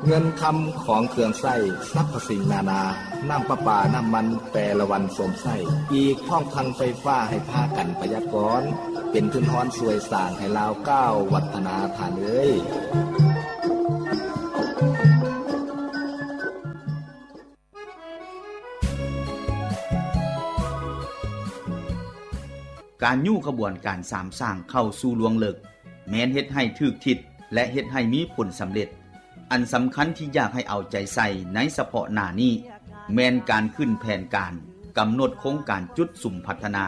ເງິນຄຳຂອງເຄື່ອງໃຊ້ສັບພະສິ່ງນານາ, ນ້ຳປະປາ, ນ້ຳມັນແຕ່ລະວັນໂຊມໄຊ, ອີກພ້ອມທັງໄຟຟ້າໃຫ້ພາກັນປະຢັດກ່ອນ, ເປັນທຶນຮອນຊ່ວຍສ້າງໃຫ້ລາວກ້າວວັດທະນາທ່ານເອີຍ. ການຍູ້ຂະບວນການສາມສ້າງເຂົ້າສູ່ລວງເລິກ ແມ່ນເຮັດໃຫ້ຖືກທິດ ແລະ ເຮັດໃຫ້ມີຜົນສຳເລັດ. ອັນສຳຄັນທີ່ຢາກໃຫ້ເອົາໃຈໃສ່ໃນສະເພາະໜ້ານີ້ ແມ່ນການຂຶ້ນແຜນການ, ກຳນົດໂຄງການຈຸດສຸມພັດທະນາ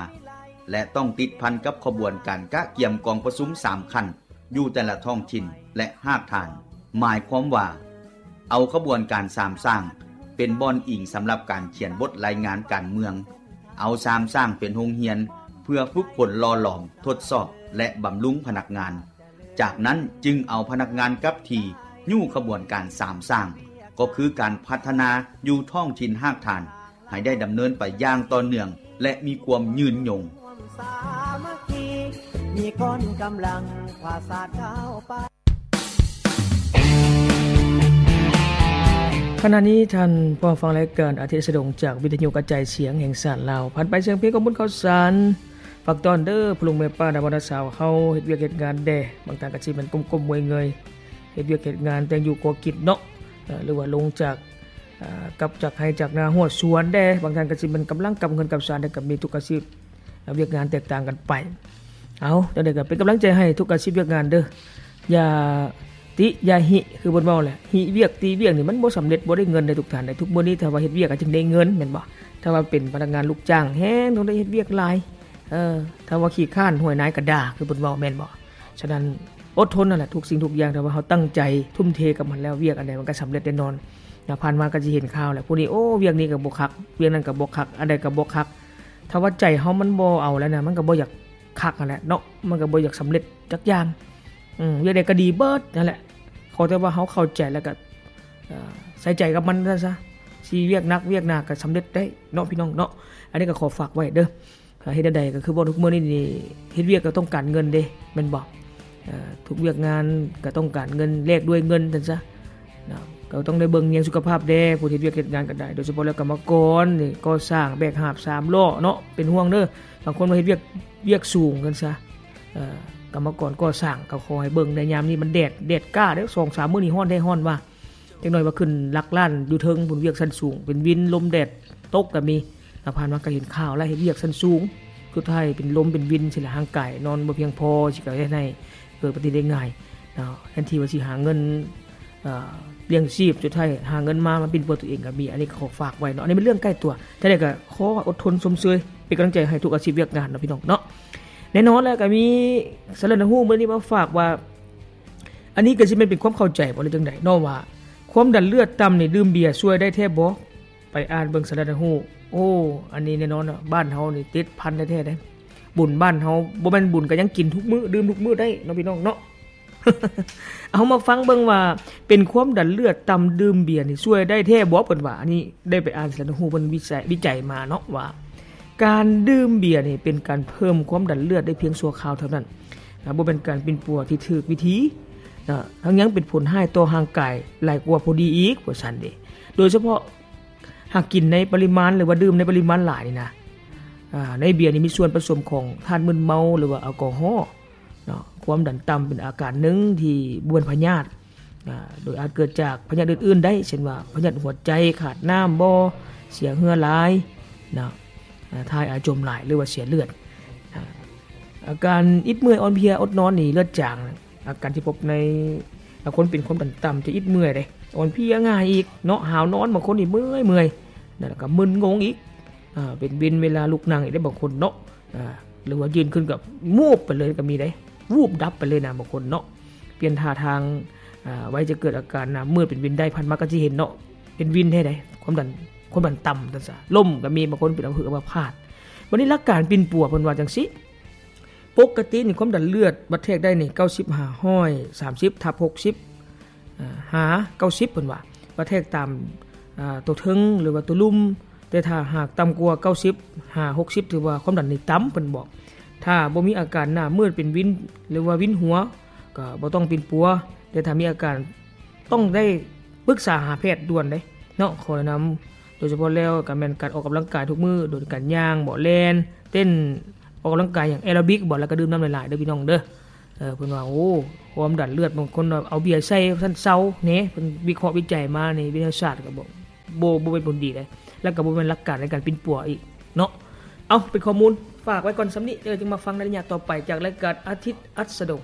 ແລະ ຕ້ອງຕິດພັນກັບຂະບວນການກະກຽມກອງປະຊຸມສາມຂັ້ນ ຢູ່ແຕ່ລະທ້ອງຖິ່ນ ແລະ ຮາກຖານ. ໝາຍຄວາມວ່າ ເອົາຂະບວນການສາມສ້າງເປັນບ່ອນອີງສຳລັບການຂຽນບົດລາຍງານການເມືອງ, ເອົາສາມສ້າງເປັນໂຮງຮຽນເພື່ອຝຶກຝົນຫຼໍ່ຫຼອມ, ທົດສອບ ແລະ ບຳລຸງພະນັກງານ. ຈາກນັ້ນຈຶ່ງເອົາພະນັກງານກັບທີ່ຍູ້ຂະບວນການສາມສ້າງ, ກໍຄືການພັດທະນາຢູ່ທ້ອງຖິ່ນຮາກຖານ ໃຫ້ໄດ້ດຳເນີນໄປຢ່າງຕໍ່ເນື່ອງ ແລະ ມີຄວາມຍືນຍົງ. ຂະນະນີ້ທ່ານພໍຟັງລາຍການອາທິດສະດົງຈາກວິທະຍຸກະຈາຍສຽງແຫ່ງຊາດລາວ. ຜ່ານໄປສຽງເພງຂອງບຸນເຂົ້າສານ. ຝາກຕ້ອນເດີ ພໍ່ລຸງແມ່ປ້າ ນາບ່າວນາສາວເຮົາເຮັດວຽກເຮັດງານແດ່. ບາງທ່ານກໍຊິແມ່ນກົ້ມໆເງີຍໆ ເຮັດວຽກເຮັດງານ ແຕ່ງຢູ່ກໍກິນເນາະ ເອີ ຫຼືວ່າລົງຈາກ ເອີ ກັບຈາກໄຮ່ຈາກນາຮອດສວນແດ່, ບາງທ່ານກໍຊິແມ່ນກຳລັງກັບເຮືອນກັບຊານ ແຕ່ກໍມີທຸກອາຊີບ ວຽກງານແຕກຕ່າງກັນໄປ. ເອົາ ຈັ່ງໃດກໍເປັນກຳລັງໃຈໃຫ້ທຸກອາຊີບວຽກງານເດີ. ຢ່າຕິຢ່າຫິ ຄືເພິ່ນເວົ້າແຫຼະ, ຫິວຽກຕິວຽກນີ້ມັນບໍ່ສຳເລັດ ບໍ່ໄດ້ເງິນເດ້ທຸກທ່ານເດ້. ທຸກມື້ນີ້ຖ້າວ່າເຮັດວຽກກໍຈຶ່ງໄດ້ເງິນແມ່ນບໍ່? ຖ້າວ່າເປັນພະນັກງານລູກຈ້າງແຮງຕ້ອງໄດ້ເຮັດວຽກຫຼາຍ. ເອີ ຖ້າວ່າຂີ້ຄ້ານຫ້ວຍນາຍກໍດ່າ ຄືເພິ່ນເວົ້າແມ່ນບໍ່? ສະນັ້ນ ອົດທົນນັ້ນແຫຼະ ທຸກສິ່ງທຸກຢ່າງ ຖ້າວ່າເຮົາຕັ້ງໃຈທຸ່ມເທກັບມັນແລ້ວ ວຽກອັນໃດມັນກໍສຳເລັດແນ່ນອນນະ. ຜ່ານມາກໍຊິເຫັນຂ່າວແຫຼະ ຜູ້ນີ້ ໂອ້ ວຽກນີ້ກໍບໍ່ຄັກ ວຽກນັ້ນກໍບໍ່ຄັກ ອັນໃດກໍບໍ່ຄັກ. ຖ້າວ່າໃຈເຮົາມັນບໍ່ເອົາແລ້ວນະ ມັນກໍບໍ່ຢາກຄັກຫັ້ນແຫຼະເນາະ ມັນກໍບໍ່ຢາກສຳເລັດຈັກຢ່າງ. ອືມ ວຽກໃດກໍດີເບິດນັ້ນແຫຼະ ຂໍແຕ່ວ່າເຮົາເຂົ້າໃຈ ແລ້ວກໍ ເອີ ໃສ່ໃຈກັບມັນຊັ້ນຊະ ຊິວຽກໜັກວຽກໜາກໍສຳເລັດໄດ້ເນາະ ພີ່ນ້ອງເນາະ. ອັນນີ້ກໍຂໍຝາກໄວ້ເດີ. ເຮັດແນວໃດກໍຄືເວົ້າທຸກມື້ນີ້ນີ້ ເຮັດວຽກກໍຕ້ອງການເງິນເດ້ ແມ່ນບໍ່? ເອີ ທຸກວຽກງານກໍຕ້ອງການເງິນ ແລກດ້ວຍເງິນຊັ້ນຊະນະ. ກໍຕ້ອງໄດ້ເບິ່ງແຍງສຸຂະພາບແດ່ ຜູ້ເຮັດວຽກເຮັດງານກໍໄດ້ ໂດຍສະເພາະແລ້ວກຳມະກອນນີ້ ກໍ່ສ້າງ ແບກຫາບສາມລໍ້ເນາະ ເປັນຫ່ວງເດີ. ບາງຄົນວ່າເຮັດວຽກ ວຽກສູງຊັ້ນຊະ ເອີ ກຳມະກອນກໍ່ສ້າງ ກໍຂໍໃຫ້ເບິ່ງໃນຍາມນີ້ມັນແດດ ແດດກ້າເດີ ສອງສາມມື້ນີ້ຮ້ອນແທ້ຮ້ອນວ່າ ຈັກໜ້ອຍວ່າຂຶ້ນຫຼັກລ້ານຢູ່ເທິງພຸ້ນ ວຽກຊັ້ນສູງ ເປັນວິນ ລົມແດດຕົກກໍມີ. ແລ້ວຜ່ານມາກໍເຫັນຂ່າວແລ້ວ ເຮັດວຽກຊັ້ນສູງ ສຸດທ້າຍເປັນລົມເປັນວິນຊີ້ແຫຼະ ຮ່າງກາຍນອນບໍ່ພຽງພໍ ຊິກໍເຮັດໃຫ້ເກີດອຸບັດຕິເຫດໄດ້ງ່າຍເນາະ. ແທນທີ່ວ່າຊິຫາເງິນ ເອີ ລ້ຽງຊີບ ສຸດທ້າຍຫາເງິນມາ ມາປິ່ນປົວຕົວເອງກໍມີ. ອັນນີ້ກໍຂໍຝາກໄວ້ເນາະ ອັນນີ້ເປັນເລື່ອງໃກ້ຕົວ. ແຕ່ໃດກໍຂໍອົດທົນຊົມເຊີຍ ເປັນກຳລັງໃຈໃຫ້ທຸກອາຊີບວຽກງານເນາະ ພີ່ນ້ອງເນາະ. ແນ່ນອນແລ້ວກໍມີສາລະນະຫູມື້ນີ້ມາຝາກວ່າ ອັນນີ້ກໍຊິແມ່ນເປັນຄວາມເຂົ້າໃຈບໍ່ ຫຼືຈັ່ງໃດເນາະ ວ່າຄວາມດັນເລືອດຕ່ຳນີ້ ດື່ມເບຍຊ່ວຍໄດ້ແທ້ບໍ່? ໄປອ່ານເບິ່ງສາລະນະຫູ. ໂອ້ ອັນນີ້ແນ່ນອນເນາະ ບ້ານເຮົານີ້ຕິດພັນແທ້ໆເດ້. ບຸນບ້ານເຮົາ ບໍ່ແມ່ນບຸນກໍຍັງກິນທຸກມື້ ດື່ມທຸກມື້ໄດ້ເນາະ ພີ່ນ້ອງເນາະ. ເອົາມາຟັງເບິ່ງວ່າ ເປັນຄວາມດັນເລືອດຕ່ຳ ດື່ມເບຍນີ້ຊ່ວຍໄດ້ແທ້ບໍ່ ເພິ່ນວ່າ. ອັນນີ້ໄດ້ໄປອ່ານສາລະນະຫູເພິ່ນວິໄຈ ວິໄຈມາເນາະ ວ່າການດື່ມເບຍນີ້ເປັນການເພີ່ມຄວາມດັນເລືອດໄດ້ພຽງຊົ່ວຄາວເທົ່ານັ້ນ ນະ ບໍ່ແມ່ນການປິ່ນປົວທີ່ຖືກວິທີນະ ທັງຍັງເປັນຜົນຮ້າຍຕໍ່ຮ່າງກາຍຫຼາຍກວ່າພໍດີອີກ ວ່າຊັ້ນເດ. ໂດຍສະເພາະຫາກກິນໃນປະລິມານ ຫຼືວ່າດື່ມໃນປະລິມານຫຼາຍນີ້ນະ ອາ ໃນເບຍນີ້ມີສ່ວນປະສົມຂອງທາດມຶນເມົາ ຫຼືວ່າແອລກໍຮໍເນາະ. ຄວາມດັນຕ່ຳເປັນອາການໜຶ່ງທີ່ບໍ່ແມ່ນພະຍາດ ອາ ໂດຍອາດເກີດຈາກພະຍາດອື່ນໆໄດ້ ເຊັ່ນວ່າພະຍາດຫົວໃຈ, ຂາດນ້ຳບໍ່, ເສຍເຫື່ອຫຼາຍເນາະ, ອາ ຖ່າຍອາຈົມຫຼາຍ ຫຼືວ່າເສຍເລືອດ. ອາ ອາການອິດເມື່ອຍ, ອ່ອນເພຍ, ອົດນອນນີ້, ເລືອດຈາງ. ອາການທີ່ພົບໃນ ອາ ຄົນເປັນຄວາມດັນຕ່ຳຈະອິດເມື່ອຍເດ້, ອ່ອນເພຍງ່າຍອີກເນາະ, ຫາວນອນ, ບາງຄົນນີ້ເມື່ອຍໆ ແລ້ວກໍມຶນງົງອີກ. ອາ ເປັນວິນເວລາລຸກນັ່ງອີກເດ້ບາງຄົນເນາະ, ອາ ຫຼືວ່າຢືນຂຶ້ນກໍວູບໄປເລີຍກໍມີເດ້, ວູບດັບໄປເລີຍນະບາງຄົນເນາະ. ປ່ຽນທ່າທາງ, ອາ ໄວຈະເກີດອາການໜ້າມືດເປັນວິນໄດ້, ຜ່ານມາກໍຊິເຫັນເນາະ, ເປັນວິນແທ້ໃດ໋, ຄວາມດັນ, ຄວາມດັນຕ່ຳ ຊັ້ນຊະ, ລົ້ມກໍມີ, ບາງຄົນເປັນອຳເພອອຳມະພາດ. ບັດນີ້ຫຼັກການປິ່ນປົວເພິ່ນວ່າຈັ່ງຊີ້, ປົກກະຕິນີ້ຄວາມດັນເລືອດວັດແທກໄດ້ນີ້ ເກົ້າສິບ ຫ້າຮ້ອຍສາມສິບ ທັບ ຫົກສິບ ອາ ຫາ ເກົ້າສິບ ເພິ່ນວ່າ ວ່າແທກຕາມ ອາ ຕົວເທິງ ຫຼືວ່າຕົວລຸ່ມ, ແຕ່ຖ້າຫາກຕ່ຳກວ່າ ເກົ້າສິບ ຫາ ຫົກສິບ ຖືວ່າຄວາມດັນນີ້ຕ່ຳ ເພິ່ນບອກ. ຖ້າບໍ່ມີອາການໜ້າມືດເປັນວິນ ຫຼືວ່າວິນຫົວ ກໍບໍ່ຕ້ອງປິ່ນປົວ, ແຕ່ຖ້າມີອາການຕ້ອງໄດ້ ປຶກສາຫາແພດດ່ວນເດ້ເນາະ. ຂໍແນະນຳໂດຍສະເພາະແລ້ວກໍແມ່ນການອອກກຳລັງກາຍທຸກມື້ ໂດຍການຍ່າງບໍ ແລ່ນເຕັ້ນ ອອກກຳລັງກາຍຫຍັງ ແອໂຣບິກບໍ ແລ້ວກໍດື່ມນ້ຳຫຼາຍໆເດີພີ່ນ້ອງເດີ. ເອີ ເພິ່ນວ່າ ໂອ້ ຄວາມດັນເລືອດ ບາງຄົນວ່າເອົາເບຍໃສ່ວ່າຊັ້ນເຊົາແນ່. ເພິ່ນວິເຄາະວິໄຈມາໃນວິທະຍາສາດກໍບໍ່ ບໍ່ ບໍ່ເປັນຜົນດີເດ້ ແລ້ວກໍບໍ່ແມ່ນຫຼັກການໃນການປິ່ນປົວອີກເນາະ. ເອົາ ເປັນຂໍ້ມູນຝາກໄວ້ກ່ອນສ່ຳນີ້ເດີ ຈຶ່ງມາຟັງໃນໄລຍະຕໍ່ໄປຈາກລາຍການອາທິດອັດສະດົງ.